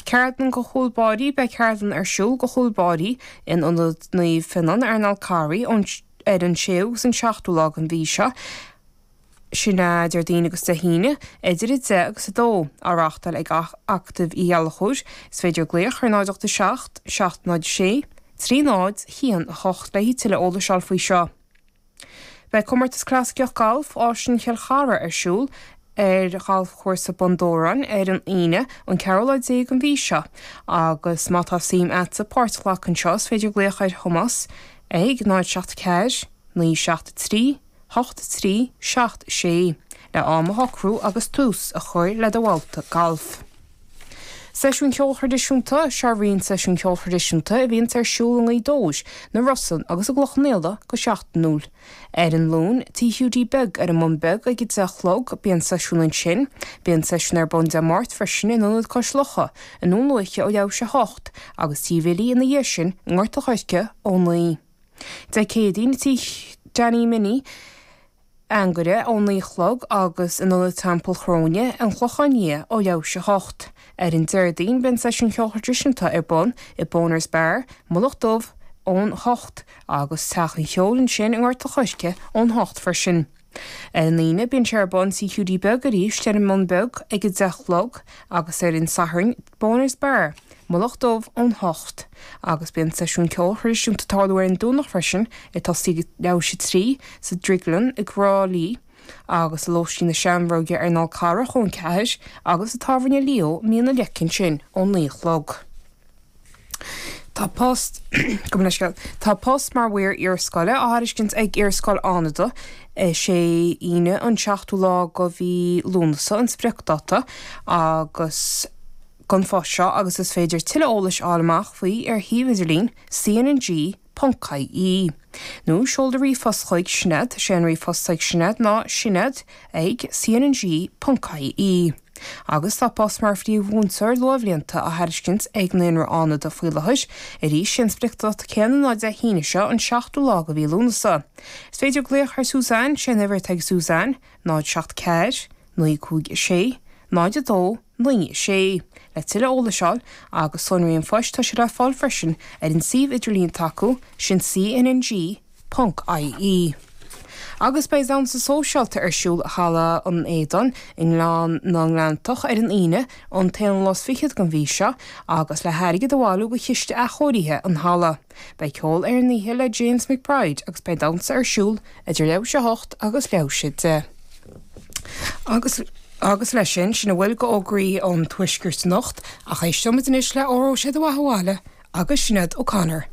Ceardlann do chúl báirí Beidh ceardlann ar siúl do chúl báirí in Ionad Naomh Fionán ar an Fhál Carraigh ón ar an 6ú agus an 7ú lá den mhí seo, sin é Déardaoin agus Dé hAoine, idir 10 agus 2, á reáchtáil ag Acadamh Uí Ghallchóir. Is féidir glaoch ar 0 8 7 7 0 6 3 0 1 8 le tuilleadh eolais a fháil faoi seo. Beidh Comórtas Clasaiceach Gailf Áislann Chill Chartha ar siúl ar Ghalfchúrsa Bun Dobhráin ar an Aoine an ceathrú lá déag den mhí seo agus má tá suim a'dsa páirt a ghlacadh anseo is féidir glaoch ar Thomás ag 0 7 4 9 7 3 8 3 7 6 le am a shocrú agus tús a chur le do bhabhta gailf. Seisiúin Cheoil Thraidisiúnta, Seo roinnt seisiún ceoil thraidisiúnta a bhíonns ar siúl i nGaoth Dobhair, na Rosann agus i gCloich Cheann Fhaola go seachtainiúil. Ar an Luan, Tí Hiúdaí Beag ar an mBun Beag ag 10 a chlog, bíonn seisiún ansin. Bíonn seisiún ar bun Dé Máirt freisin in Ionad Cois Locha i nDún Lúiche ó leathuair théis 8 agus Tí Bhilly ina dhiaidh sin i nGort an Choirce ó 9. Dé Céadaoin, Tí Danny Minnie, Anagaire ó 9 a chlog agus in Ionad Teampall Chróine, An Clochán Liath ó leathuair théis 8. Ar an Déardaoin bíonn seisiún ceoil thraidisiúnta ar bun i Boners Bar, Mullach Dubh ón 8 agus Teach an Cheoil ansin i nGort an Choirce ón 8 freisin. Ar an Aoine bíonn sé ar bun Tí Hiúdaí Beag arís ar an mBun Beag ag 10 a chlog agus ar an Satharn Boners Bar, Mullach Dubh ón 8, agus bíonn seisiún ceoil thraidisiúnta ag tarlú ar an Domhnach freisin, ag tosaí ag leathuair théis 3, sa Drioglann i dTrá Lí, agus i Lóistín na Seamróige ar an Fhál Carrach ón 4, agus i Tábhairne Leo i Mín an Leic ansin ón 9 a chlog. Tá post, gabh mo leithscéal, tá post mar mhaor iarscoile á thairiscint ag Iarscoil Fhánada. Is é Aoine an seachtú lá de mhí Lúnasa an spriocdáta agus don phost seo agus is féidir tuilleadh eolais a fháil amach faoi ar shuíomh idirlín cnng.ie. Nó seol do ríomhphost chuig Sinéad, sé an ríomhphost ag Sinéad ná sinéad ag cnng.ie. Agus tá post mar phríomh-mhúinteoir luathbhlianta á thairiscint ag Naíonra Fhánada faoi láthair. Arís, sé an spriocdáta céanna ná Dé hAoine seo, an seachtú lá de mhí Lúnasa. Is féidir glaoch ar Suzanne, sé an uimhir atá ag Suzanne, 0 7 4 9 5 6 0 2 9 6, le tuilleadh eolais a fháil agus sonraí an phoist tá sé le fáil freisin ar an suíomh idirlín atá acu, sin CNNG. Ponc IE. Agus beidh damhsa sóisialta ar siúl i Halla an Éadain i nGleann na nGleanntach ar an Aoine, an t-aonú lá is fichead den mhí seo, agus le hairgead a bhailiú do chiste athchóirithe an halla. Beidh ceol ar an oíche le James McBride agus beidh damhsa ar siúl idir leathuair théis a hocht agus leathuair théis a deich. Agus agus leis sin, sin a bhfuil d'fhógraí an Tuaiscirt anocht, ach éisteoimid anois le Óró Sé do Bheatha 'Bhaile agus Sinéad O'Connor.